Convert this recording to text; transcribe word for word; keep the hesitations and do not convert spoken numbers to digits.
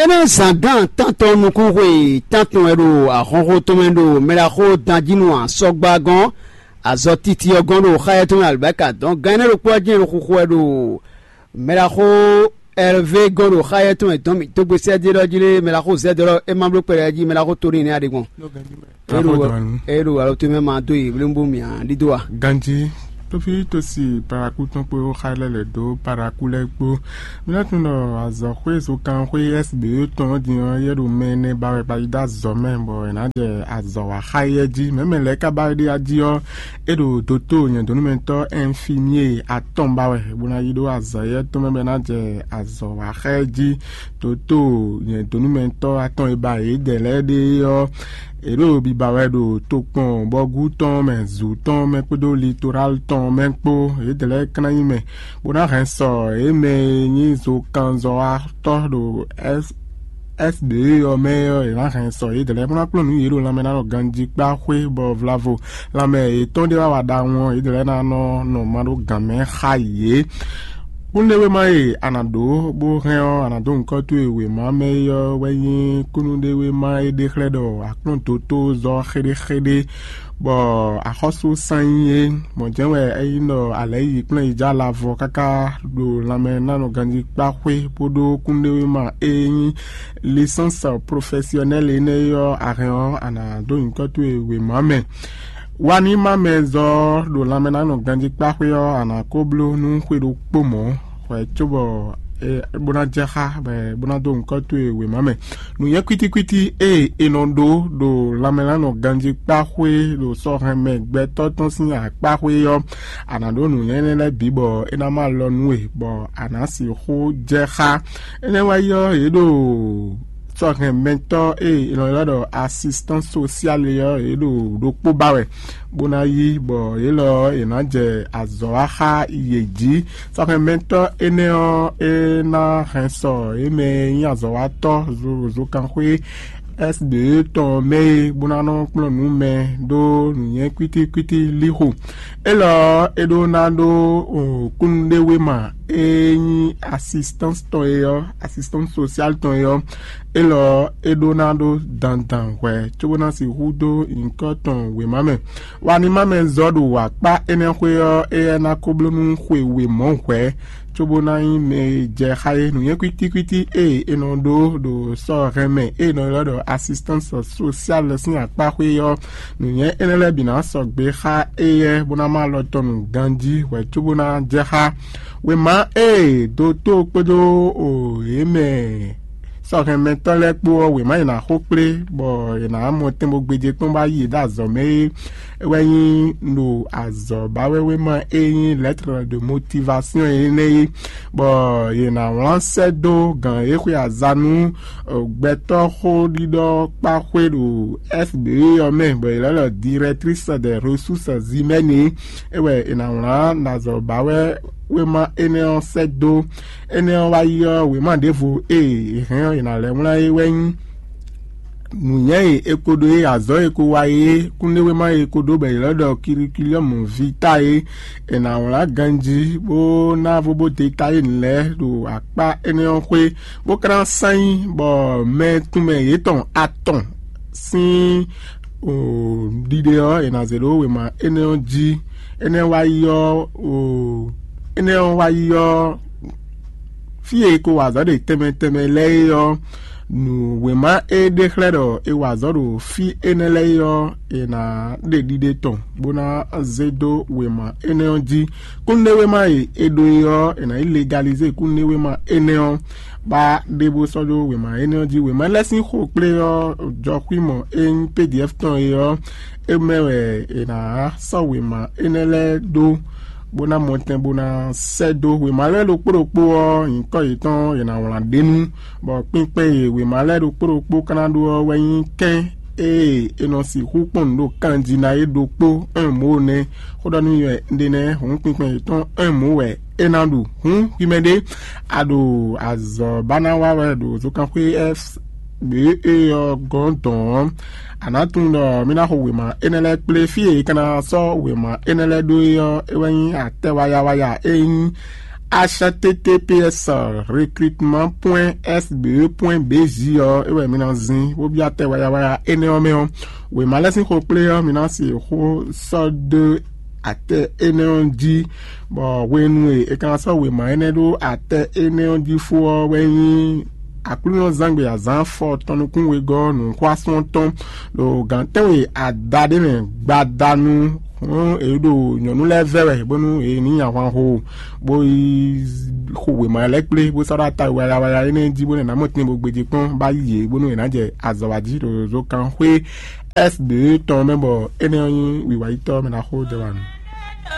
Énɛ́ zǎngán tántɔn nukúnxwe tántɔn wɛ ɖo ahɔnxó tɔn mɛ ɖo mɛɖaxó danjínú asɔgba gɔ́n, azɔ titi ɔ́ gɔ́n ɖo xáyɛ́ tɔn mɛ alibáka dɔn gan énɛ́ ɖokpó ɔ́ jɛ́n ɖo xuxu wɛ ɖo mɛɖaxó Ɛlvé gɔ́n ɖo xáyɛ́ tɔn mɛ dɔn mǐ dó gbe sɛ́ dó é ɖɔ jí lé mɛɖaxó Zɛ́dɔ́ ɔ́, é má bló kpɛɖɛ jí mɛɖaxó Toníi nɛ́ a ɖe gbɔn. É ɖo alo tó mɛ ma dó yi blémbú mǐ a ɖídó a? Ganjí, tófí tó si paraku tɔn kpó xá lɛ́ lɛ̌ dó paraku lɛ́ɛ kpó. Mí ná tunwun ɖɔ azɔ̌xwé zokanxwé S B E tɔn ɔ́ din ɔ́, yɛ ɖo mɛ ɛnɛ ba wɛ ba yi dó azɔ̌ mɛ, bɔ è nǎ jɛ azɔ̌ wa xá yɛ jí. Mɛ̌ mɛ lɛ́ɛ ka ba wɛ ɖe ají ɔ́, é ɖo doto nyɛ̌dónúmɛtɔ́ ɛnfimié atɔn ba wɛ, bó ná yi ɖó azɔ̌ yɛ tɔn mɛ bɔ é ná jɛ azɔ̌ wa xá yɛ jí. Doto nyɛ̌dónúmɛtɔ́ atɔn e ba yědɛɛ lɛ́ɛ ɖe ɔ́, yě ɖo biba wɛ ɖo tokpɔn bɔgú tɔn mɛ, zǔ tɔn mɛ kpódó litorál tɔn mɛ kpó. Yědɛɛ lɛ́ɛ ka ná nyí mɛ, bó ná hɛn sɔ yě mɛ e nyí zokanzɔ́watɔ́ ɖo S B E ɔ́ mɛ ɔ́, yě ná hɛn sɔ yědɛɛ lɛ́ɛ bó ná kplɔ́n nǔ yě ɖo lanmɛ ná ɖɔ ganjí kpá xwé, bɔ vlavo lanmɛ yětɔn ɖé wá wa ɖawun ɔ́, yědɛɛ lɛ́ɛ ná nɔ nɔ ma ɖó gǎn mɛ xá yě. Kúnɖéwéma e a nǎ ɖó bó hɛn ɔ́, a nǎ dó nyǐkɔ towe wěma mɛ é ɔ́ wɛ nyí kúnnuɖéwéma e ɖe xlɛ́ ɖɔ a kplɔ́n dotó zɔ xéɖéxéɖé, bɔ axɔ́sú sán nyí é. Mɔ̌ jɛ́n wɛ é nyí ɖɔ a lɛ̌ yi kplɔ́n yi jɛ alavɔ káká ɖo lanmɛ ná nɔ ganjí kpá xwé bó ɖó kúnɖéwéma e nyí lisɛ́nsi profɛsiɔnɛ́li énɛ́ é ɔ́, a hɛn ɔ́, a nǎ dó nyǐkɔ towe wěma mɛ. Wa ní má mɛ zɔ ɖo lanmɛ ná nɔ ganjí kpá xwé ɔ́, a nǎ ko bló nú xwe ɖokpó mɔ̌ hwɛ cóbɔ bó ná jɛ xá bɔ bó ná dó nyǐkɔ towe wěma mɛ. Nǔnywɛ́ kwítíkwítí e è nɔ ɖó ɖo lanmɛ ná nɔ ganjí kpá xwé ɖo sɔ́ hɛn mɛ gbɛtɔ́ tɔn sín akpá xwé ɔ́, a nǎ ɖó nǔnywɛ́ énɛ́ lɛ́ɛ bǐ bɔ é ná má lɔ nú we, bɔ a nǎ sixú jɛ xá. Énɛ́ wá yi ɔ́, yě ɖo sɔ́hɛnmɛtɔ́ e è nɔ ylɔ́ ɖɔ asistance sociale ɔ́, yě ɖo ɖokpó ba wɛ, bó ná yí, bɔ yě lɔ ɔ́, yě ná jɛ azɔ̌ wa xá yě jí. Sɔ́hɛnmɛtɔ́ énɛ́ ɔ́, é ná hɛn sɔ yě mɛ e nyí azɔ̌watɔ́ zozokanxwé S B E tɔn mɛ é, bó ná nɔ kplɔ́n nǔ mɛ ɖó nǔnywɛ́ kwítíkwítí líxo. Élɔ́ ɔ́, é ɖó ná ɖó kúnnuɖéwéma e nyí asistance tɔn é ɔ́, asistance sociale tɔn é ɔ́, élɔ́ ɔ́, é ɖó ná ɖó dandan hwɛ̌ cóbó ná sixú dó nyǐkɔ tɔn wěma mɛ. Wa ní má mɛ zɔ ɖo akpá énɛ́ xwé ɔ́, éyɛ́ ná ko bló nú xwe wěmɔ̌ hwɛ̌, cóbó ná nyí mɛ e jɛ xá é. Nǔnywɛ́ kwítíkwítí e è nɔ ɖó ɖo sɔ́ hɛn mɛ e è nɔ ylɔ́ ɖɔ asistance sociale sín akpá xwé ɔ́, nǔnywɛ́ énɛ́ lɛ́ɛ bǐ ná sɔgbe xá éyɛ́ bó ná má alɔ tɔn nǔ ganjí hwɛ̌ cóbó ná jɛ xá. Wěma e dotó kpódó o yě mɛ sɔ́hɛnmɛtɔ́ lɛ́ɛ kpó ɔ́, wěma e è nǎ xo kplé bɔ è nǎ mɔ tɛn bó gbéjé kpɔ́n bó wá yi yě ɖo azɔ̌ mɛ é, é wɛ nyí ɖo azɔ̌ ba wɛ wéma e nyí lettre de motivation énɛ́ é, bɔ yě ná wlán sɛ́ dó gǎn e xwe aza nú gbɛtɔ́ xóɖiɖɔ kpá xwé ɖo S B E ɔ́ mɛ, bɔ yě lɛ́ ɖɔ directrice des ressources humaines é, é wɛ è nǎ wlán ɖo azɔ̌ ba wɛ wéma énɛ́ ɔ́ sɛ́ dó. Énɛ́ ɔ́ wá yi ɔ́, wěma ɖěvo e è hɛn ɔ́, è nǎ lɛ́ wlán é wɛ nyí nǔnywɛ́ e è ko ɖó é, azɔ̌ e è ko wa é, kúnɖéwéma e è ko ɖó bɔ è lɛ́ ɖɔ curriculum vitae é, è nǎ wlán ganjí bó ná vo bó détaillé nǔ lɛ́ɛ ɖo akpá énɛ́ ɔ́ xwé, bó ka ná sán nyí bɔ mɛ tunwun mɛ yětɔn atɔn sín ɖiɖe ɔ́, è nǎ zě ɖó wěma énɛ́ ɔ́ jí. Énɛ́ wá yi ɔ́, énɛ́ ɔ́ wá yi ɔ́, fí e è ko wa azɔ̌ ɖe tɛnmɛ tɛnmɛ lɛ́ɛ é ɔ́, nǔ wěma e ɖe xlɛ́ ɖɔ è wa azɔ̌ ɖo fí énɛ́ lɛ́ɛ é ɔ́, è nǎ ɖe ɖiɖe tɔn bó ná zé dó wěma énɛ́ ɔ́ jí. Kúnnuɖéwéma e è ɖó é ɔ́, è nǎ yi legalizé kúnnuɖéwéma énɛ́ ɔ́, bá ɖe bó sɔ́ ɖó wěma énɛ́ ɔ́ jí. Wěma lɛ́ɛ sín xo kplé ɔ́, jɔxwímɔ e nyí P D F tɔn é ɔ́, é mɛ wɛ è nǎ sɔ́ wěma énɛ́ lɛ́ɛ ɖó bó ná mɔ tɛn bó ná sɛ́ dó. Wěma lɛ́ɛ ɖokpó ɖokpó ɔ́, nyǐkɔ yětɔn è nǎ wlán ɖ'é nu, bɔ kpinkpɛn e wěma lɛ́ɛ ɖokpó ɖokpó ka ná ɖó ɔ́ wɛ nyí kɛ́n e è nɔ sixú kpɔ́n nǔ ɖo kanjí ná é ɖokpó un mǒ nɛ́. Xó ɖɔ nú mi wɛ un ɖe nɛ́, hǔn kpinkpɛn yětɔn un mǒ wɛ é ná ɖu. Hǔn hwi mɛ ɖé, a ɖo azɔ̌ ba ná wa wɛ ɖo zunkanxwé S B E ɔ́ gɔ́n dɔ̌n ɔ́, a nǎ tunwun ɖɔ mì ná xo wěma énɛ́ lɛ́ɛ kplé. Fí e è ka ná sɔ́ wěma énɛ́ lɛ́ɛ ɖó é ɔ́, é wɛ nyí atɛ wayawaya e nyí H T T P S recrutement point S B E point B J ɔ́, é wɛ mi ná zin bó byɔ́ atɛ wayawaya énɛ́ ɔ́ mɛ ɔ́. Wěma lɛ́ɛ sín xo kplé ɔ́, mi ná se xó sɔ́ dó atɛ énɛ́ ɔ́ jí, bɔ hwenu e è ka ná sɔ́ wěma énɛ́ ɖó atɛ énɛ́ ɔ́ jí fó ɔ́ wɛ nyí Aklúnɔzángbe azǎn afɔ tɔn nukún wegɔ́ nǔxwásún ɔ́ tɔn ɖo gǎn tɛ́nwe ada ɖé mɛ gbadanu. Hɔn è ɖo nyɔ̌nu lɛ́ɛ vɛ́ wɛ bónú è ní nyi ahwan xo, bó yi xo wěma lɛ́ɛ kplé bó sɔ́ ɖó ata wayawaya énɛ́ jí bónú è nǎ mɔ tɛn bó gbéjé kpɔ́n bá yi yě bónú è nǎ jɛ azɔ̌ wa jí ɖo zozokánxwé S B E tɔn mɛ, bɔ énɛ́ ɔ́ nyí wiwa yítɔ́ mɛ ná xó jɛ wa nú.